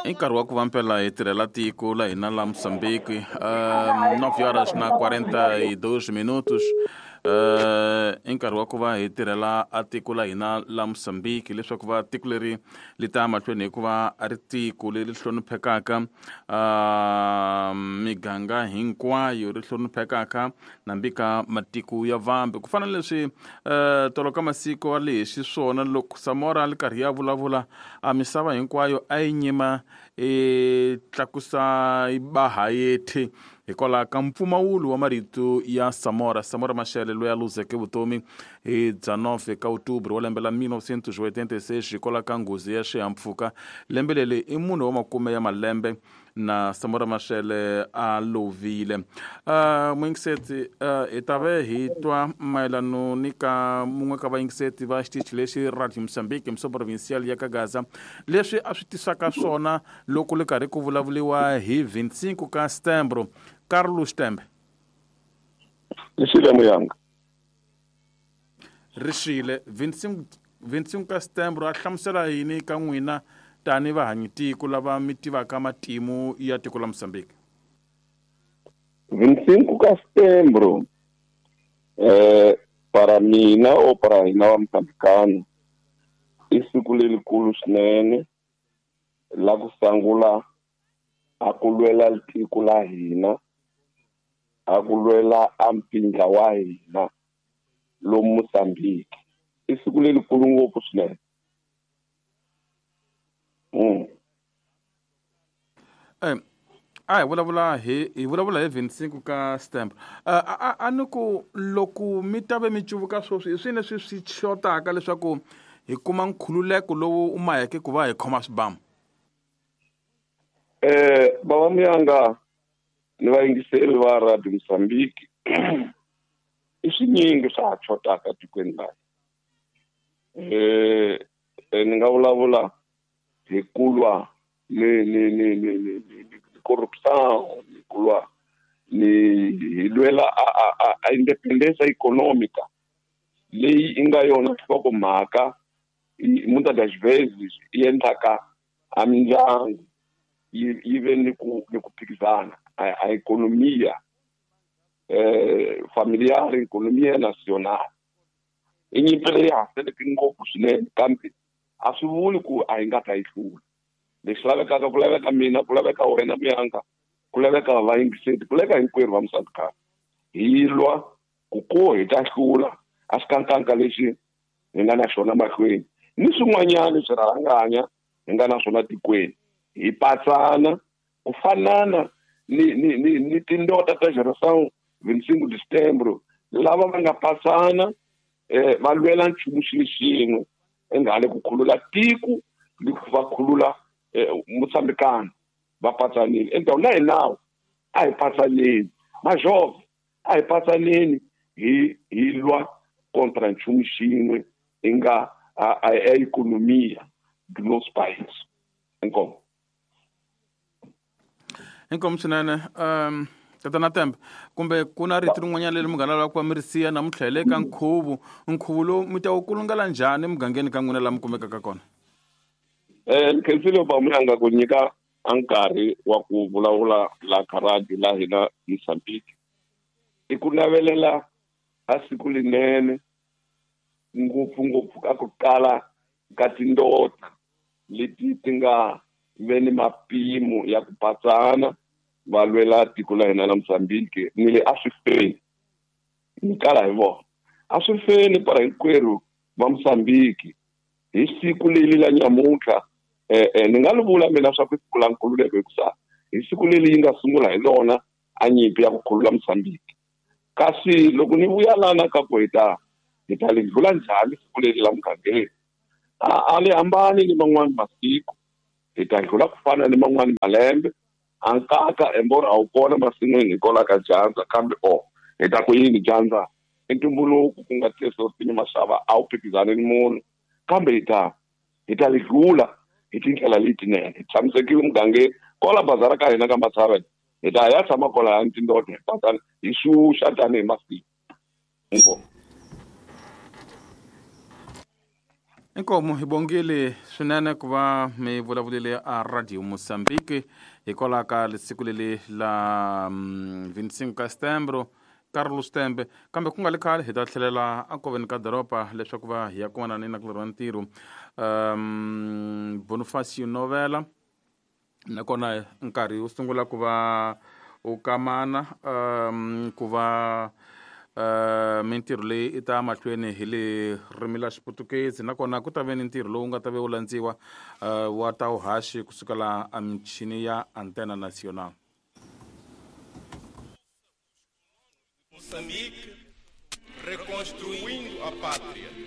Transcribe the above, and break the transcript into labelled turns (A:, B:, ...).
A: I nkarhi wa ku va mpela hi tirhela tiko la hina la Mozambique. 9 horas na 42 minutos. I nkarhi wa ku va hi tirhela a tiko la hina la Mozambique leswaku va tiko leri li ta mahlweni hikuva a ri tiko leri hloniphekaka miganga hinkwayo ri hloniphekaka nambi ka matiko ya vambe ku fana na leswi tolo ka masiku a li hi xiswona loko Samora a li karhi ya vulavula a misava hinkwayo a yi nyima i tlakusa yi ba hayeti hikwalaho ka mpfumawulo wa marito ya Samora. Samora Machel loyi a luzeke vutomi hi 19 ka Outubro wa lembe la 1986 hikwalaho ka nghozi ya xihahampfhuka. Lembe leri i munhu wa makume ya malembe na Samora Machel a lovile. Muyingiseti hi ta ve hi twa mayelano ni ka mun'we ka vayingiseti va xitichi lexi Radio Mozambique mso provincial ya ka Gaza leswi a swi tisaka swona loko li karhi ku vulavuriwa hi 25 ka Setembro. Carlos Tembe.
B: Rixile Muyanga.
A: Rixile 25 ka Setembro a hlamusela yini ka n'wina tani vahanyi tiko lava mi tivaka matimu ya tiko la Mozambique?
B: 25 ka Setembro para mina o para hina va Mozambicano i siku lerikulu swinene la ku sungula a ku lwela tiko la hina, a ku lwela a mpindla wa hina lomu Mozambique. I siku lerikulu ngopfu swinene.
A: A hi vulavula hi hi vulavula hi 25 ka Setembro. A ni ku loko mi ta ve mi cuvuka sweswi hi swini leswi swi xotaka leswaku hi kuma nkhululeko lowu u maheke ku va hi khoma swibamu?
B: Bava Muyanga ni vayingiseri va Radio Mozambique i swinyingi swa ha xotaka tikweni laha. Ni nga vulavula hi ku lwa ni ni ni ni ni ni corruption, ni ku lwa ni hi lwela a independence economica leyi i nga yona nhlokomhaka muitas das vezes yi endlaka a mindyangu yi ve ni ku phikizana a economia familiar, economia nacional. I nyimpi leyi ha seleke ngopfu swinene, kambe a swi vuli ku a hi nga ta yi hlula. Lexi lavekaka ku laveka mina, ku laveka wena Muyanga, ku laveka vayingiseri, ku laveka hinkwerhu va Mozambique. Hi lwa ku ko hi ta hlula a xikankanka lexi hi nga na xona mahlweni ni swin'wanyana swirhalanganya hi nga na swona tikweni. Hi patsana ku fanana ni ni ni ni tindota ta Geração 25 de Setembro lava va nga patsana va lwela nchumu xilo xin'we engale ku khulula tiko ni ku va khulula Mozambicano. Va patsanile endzhaku na hi nawu a hi patsaneni majove a hi patsaneni hi lwa kontra nchumu xin'we i nga a economia do nosso país. Inkomu.
A: Inkomu swinene. Tatana Tembe, kumbe ku na rito rin'wanyana leri munghana lava ku va mi ri siya namuntlha hi le ka nkhuvo. Nkhuvo lowu mi ta wu kulungela njhani emugangeni ka n'wina laha mi kumekaka kona?
B: Ni khensile ba Muyanga ku nyika a nkarhi wa ku vulavula la ka radio la hina Mozambique. I ku navelela a siku linene ngopfungopfu ka ku kala ka tindota leti ti nga ve ni mapimo ya ku patsana va lwela tiko la hina la Mozambique. Ni le a swi feni, ni kala hi vona a swi feni para hinkwerhu va Mozambique hi siku leri la nyamuntlha. Ni nga li vula mina swa ku siku la nkhululeko hikusa hi siku leri yi nga sungula hi lona a nyimpi ya ku khulula Mozambique. Kasi loko ni vuya lana ka ku hi ta li dlula njhani siku leri la mugangeni, a li hambani ni man'wani masiku, hi ta dlula ku fana ni man'wani malembe. A nkaka embora a wu kona masin'wini hikwalaho ka dyandza, kambe o hi ta ku yini dyandza i ntumbuluko ku nga tesortini maxava a wu phikizani ni munhu, kambe hi ta li dlula hi tindlela letinene. Hi tshamisekile mugangeni kwala bazara ka hina ka Matshava, hi ta ya tshama kwalaya ni tindota hi patsana hi xuxa tanihi masiku. Inkomu.
A: Inkomu hi bongile swinene ku va mi vulavulile a Radio Mozambique hikwalaho ka siku leli la 25 ka setembro. Carlos Tembe, kambe ku nga li khale hi ta tlhelela akoveni ka doroba leswaku va hi ya kumana ni nakulorhi wa ntirho Bonifacio Novela, nakona nkarhi wu sungula ku va u kamana ku va mintirho leyi i ta mahlweni hi le ririmi la Xiputukezi, nakona ku ta ve ni ntirho lowu nga ta ve wu landziwa wa ta vuhaxi kusukela a michini ya Antena Nacional.
C: Moçambique, reconstruindo a pátria.